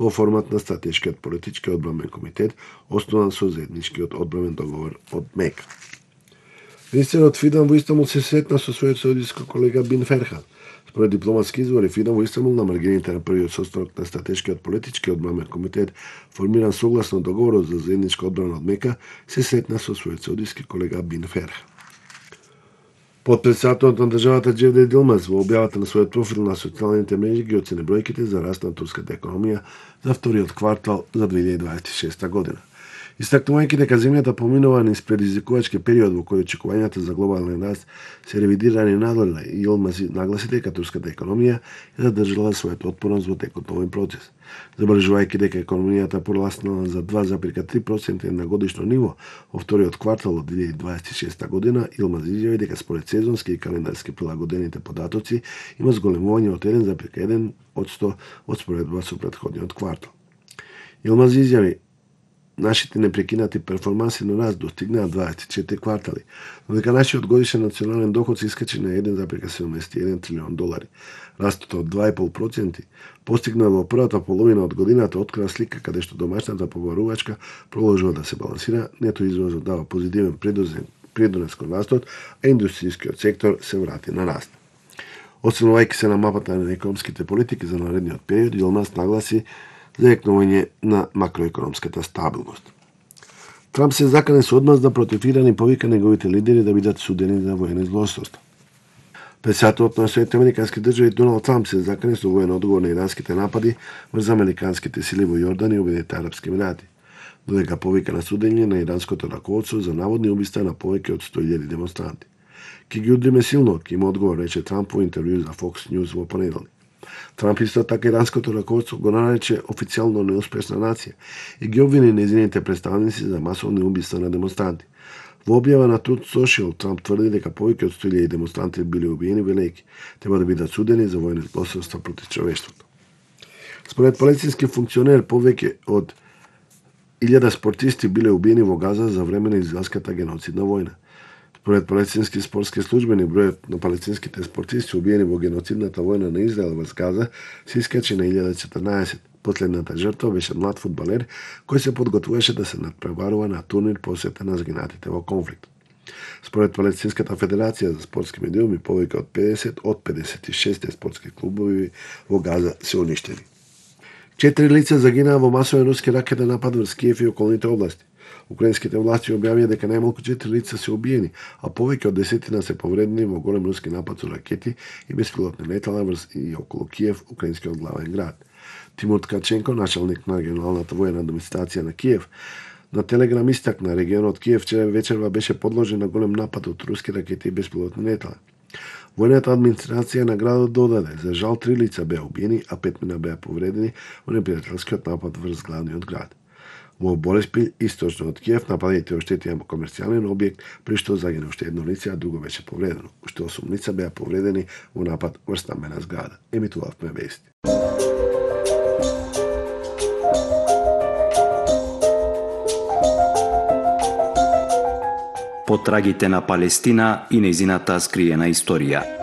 во формат на стратешкиот политички одбранбен комитет, основан со заедничкиот одбранбен договор од МЕК. Министерот Фидан во Истанбул се сретна со својот саудиски колега Бин Ферхан. Според дипломатски извори, Фидан во Истанбул на маргините на првиот состанок на стратешкиот политички одбранбен комитет, формиран согласно договорот за заедничка одбрана од МЕК, се сретна со својот саудиски колега Бин Ферхан. Потпредседателот на државата Џевдет Илмаз во објавата на својот профил на социјалните мрежи ги оцени бројките за раст на турската економија за вториот квартал за 2026 година. Истакнувајќи дека земјата поминува низ предизвикувачки период во кој очекувањата за глобален раст се ревидирани надоле, и Илмаз нагласи дека турската економија е задржала својата отпорност во текот на овој процес. Забележувајќи дека економијата пораснала за 2,3% на годишно ниво во вториот квартал од 2026 година, Илмаз изјави дека според сезонски и календарски прилагодените податоци има зголемување од 1,1% од споредба со претходниот квартал. Илмаз изјави: нашите непрекинати перформанси на раст достигнаа 24 квартали, но дека нашиот годишен национален доход се искачи на 1,71 трилион долари. Растот од 2,5% постигнат во првата половина од годината открива слика каде што домашната побарувачка продолжува да се балансира, нето извозот дава позитивен придонес кон растот, а индустријскиот сектор се врати на раст. Освенувајќи се на мапата на економските политики за наредниот период, Илмаз нагласи заекнување на макроекономската стабилност. Трамп се закане со одмазда против Иран и повика неговите лидери да бидат судени за воени злосторства. Председателот на Соединетите американски држави Доналд Трамп се закане со воен одговор на иранските напади врз американските сили во Јордан и Обединетите арапски емирати, додека повика на судење на иранското раководство за наводни убиства на повеќе од 100.000 демонстранти. Ки ги удриме силно, ки има одговор, рече Трамп во интервју за Fox News во понеделник. Трамп исто така иранското раководство го нарече официјално неуспешна нација и ги обвини нејзините представници за масовни убиства на демонстранти. Во објава на Truth Social, Трамп тврди дека повеќе од 100.000 демонстранти били убиени, велејќи треба да бидат судени за воени злосторства против човештвото. Според палестински функционер, повеќе од 1000 спортисти биле убиени во Газа за време на израелската геноцидна војна. Според палестински спортски службени, бројот на палестинските спортисти убиени во геноцидната војна на Израел во Газа се искачи на 1014. Последната жртва беше млад фудбалер кој се подготвуваше да се надпреварува на турнир посветен на згинатите во конфликт. Според Палестинската федерација за спортски медиуми, повеќе од 50 од 56 спортски клубови во Газа се уништени. 4 лица загинаа во масовен руски ракетен напад врз Киев и околните области. Украинските власти објавија дека најмалку 4 лица се убиени, а повеќе од 10 се повредени во голем руски напад со ракети и беспилотни летала врз и околу Киев, украинскиот главен град. Тимур Ткаченко, началник на регионалната воена администрација на Киев, на Телеграм истакна регионот Киев вчера вечерва беше подложен на голем напад од руски ракети и беспилотни летала. Војната администрација на градот додаде, за жал 3 лица беа убиени, а 5 мина беа повредени во непријателскиот напад врз главниот град. Во Бориспил, источно од Киев, нападите оштетија комерцијален објект, при што загина уште едно лице, а друго беше повредено. Уште 8 лица беа повредени во напад врз стамбена зграда. Емитувавме вести. Потрагите на Палестина и нејзината скриена историја.